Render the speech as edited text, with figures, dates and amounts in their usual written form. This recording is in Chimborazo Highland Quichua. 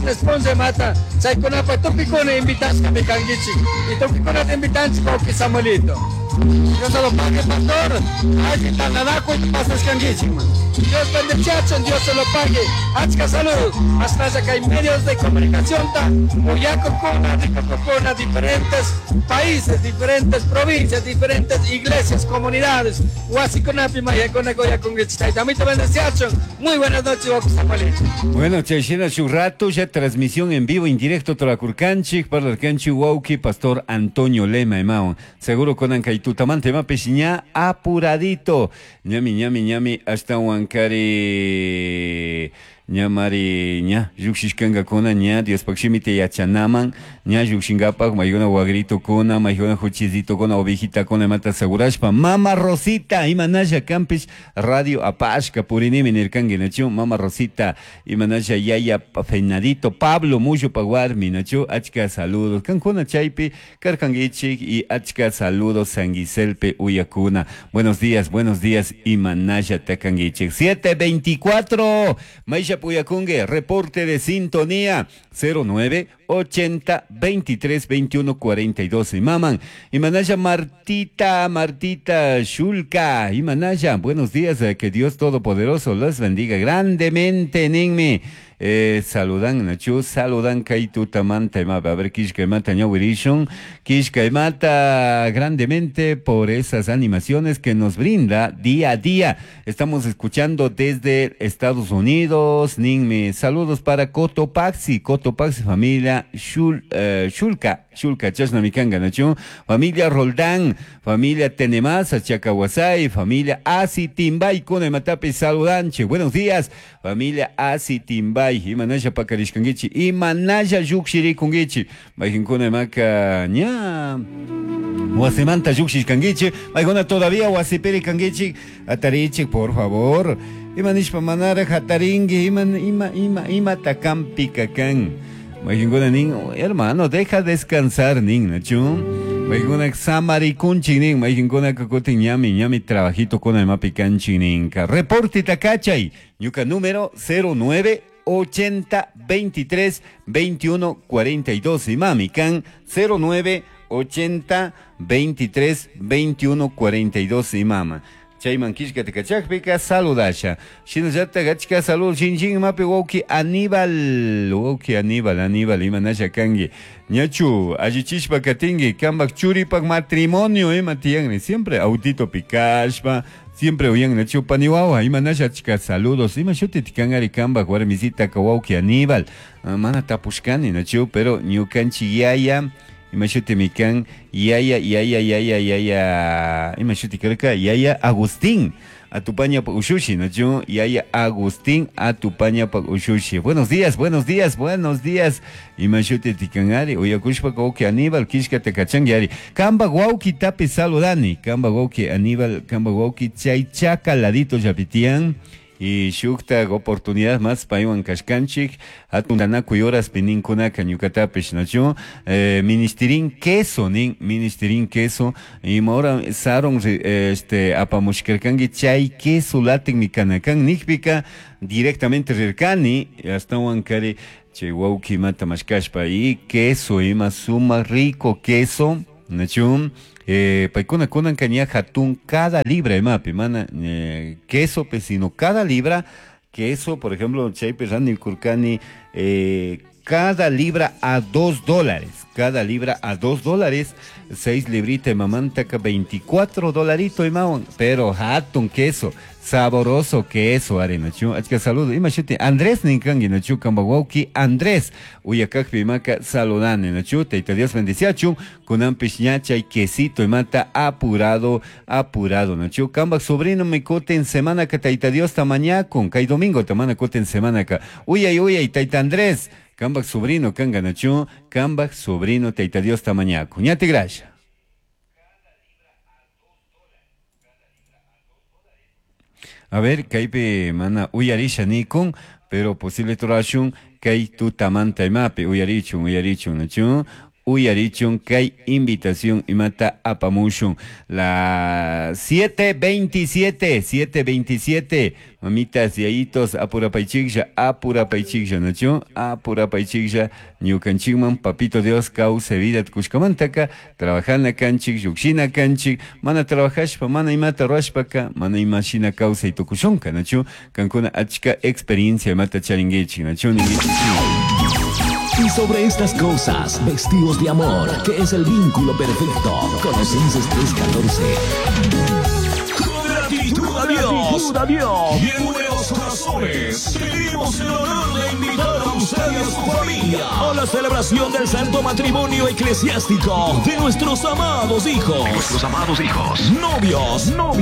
Viernes punlla mata chaykunapaq tukuykuna invitashkami kankichik y tukuykunata invitanchik wawqi Samuelito. Dios se lo pague, pastor. Alli tantanakuy pasashkankichik, man. Dios bendeciachun, Dios se lo pague. Achka salud. Asnalla kay medios de comunicación ta uyakukuna, rikukukuna, diferentes países, diferentes provincias, diferentes iglesias, comunidades. Wasikunapi mayakuna uyakunkichik. Tayta amito bendeciachun. Muy buenas noches, wawqi Samuelito. Bueno, chay shina shuk rato ya transmisión en vivo, en directo turakurkanchik, parlarkanchik wawqi pastor Antonio Lema imawan. Seguro kunan kay tutamanta imapish ña apuradito. Ñami, ñami, ñami, ashtawan kari ñamari ña llukshishkankakuna ña Diospaj shimita yachanaman ña llukshinkapak maykuna wagritukuna maykuna juchisitukuna ovejitakuna imata asegurashpa mama Rosita imanalla kanpish radio apashka purinimi nirkanki nachu mama Rosita imanalla yaya Fenadito Pablo Mullupa warmi nachu achka saludos kankuna chaypi karkankichik y achka saludos San Giselpe uyakuna. Buenos días, buenos días imanalla takankichik. 7:24 Maisha Puyakungue, reporte de sintonía 09 80 23 21 42. Y maman, Imanaya Martita, Martita Shulka, Imanaya, buenos días, que Dios Todopoderoso los bendiga grandemente, ninmi. Saludan, Nachu, saludan, kay tutamanta, ima, a ver, kishka imata, ñawirishun, kishka imata, grandemente por esas animaciones que nos brinda día a día. Estamos escuchando desde Estados Unidos, ninmi, saludos para Cotopaxi, Cotopaxi, familia Shulka, Shulka, chashna mikanga, Nachu, familia Roldán, familia Tenemasa, Chacahuasay, familia Asi Timbay, kuna imatapi saludanche, buenos días, familia Asi Timbay, imanalla pakarishkankichik, imanalla llukshirikunkichik, mayqinkuna imaka ña wasimanta llukshishkankichik, maykuna todavía wasipiri kankichik, atarichik, por favor, ima nishpa manaraj atarinki, ima, ima, ima, imata kampika kan. Mayqinkuna nin, hermano, deja descansar, nin, nachu. Mayqinkuna samarikunchik nin, mayqinkuna kutin ñami, ñami trabajito kuna imapi kanchik ninka. Reporte takachay, ñuka número 09 80 23 21 42. Y mami, can 09 80 23 21 42. Y mama. Chayman kishka tikachakpika saludasha. Shinallata gachka salud shin mapi wawki Aníbal, wawki Aníbal, Aníbal imanasha kanki. Ñachu, allichishpa katinki, kambak churipak matrimonio ima tiyanni, siempre autito pikashpa, siempre uyan nachu paniwawa, imanasha achka saludos, ima shuti tikangari kambak warmisita ka wawki Aníbal. Ah, mana tapushkani nachu, pero ñukanchik yaya, ima shuti mikan, yaya, yaya, yaya, yaya, ima shuti karka, yaya Agustín, Atupaña pa ushushi, nachu, yaya Agustín, Atupaña pa ushushi. Buenos días, buenos días, buenos días. Ima shuti tikangari, uyakushpa wawki Aníbal, kishka tekachangi ari. Kamba wawki tapi saludani, kamba wawki Aníbal, kamba wawki chay chaka ladito yapitian. Y shukta oportunidad más paywan kashkanchik hatun tanakuy horas pininkunaka ñukatapish nachu, ministirin queso nin, ministirin queso y ahora saron apamushkarkanki chay queso latin mikanakan nikpika directamente rirkani astawan kari chay wawki imata mashkashpa y queso ima suma rico queso nachu. Paykuna kunan kaña hatun cada libra imapi, mana queso, pe, sino cada libra queso, por ejemplo, chaypi rani kurkani cada libra a dos dólares, cada libra a dos dólares, 6 libritas mamantaka 24 dolarito imawan, pero hatun queso, saboroso queso, ari nachu, achka saludo, ima shuti Andrés ninkangi nachu, kamba wawki Andrés, uyakakpi imaka saludani nachu, tayta Dios bendiciachu, kunanpish ña chay quesito imata apurado, apurado nachu, kamba sobrino me kuten semana ka tayta Dios tamañakun, kay domingo tamana kuten semana ka, uyay uyay tayta Andrés, kambak sobrino kanga nachu, kambak sobrino tayta Dios tamañakun, ñate gracias. A ver, kaypi mana uyarisha nikun, pero posible turashun kay tutamanta imapi uyarichun, uyarichun, nachu. Uyarichun kay invitación imata apamushun. La 7:27, 7:27. Mamitas, yayitos, apurapaychiklla, apurapaychiklla, nachu? Apurapaychiklla, ñukanchikman, papito Dios, kawsay vida kushkamantaka, trabajana kanchik, llukshina kanchik, mana trabajashpa, mana imata ruashpaka, mana imashina kawsay tukushunka, nachu? Kankuna achka experiencia imata charinkichik, nachu? Y sobre estas cosas, vestidos de amor, que es el vínculo perfecto. Colosenses 3:14. Con gratitud a Dios, a Dios y en buenos corazones, tenemos el honor de invitar a usted y a su familia a la celebración del santo matrimonio eclesiástico de nuestros amados hijos. Nuestros amados hijos. Novios, novios.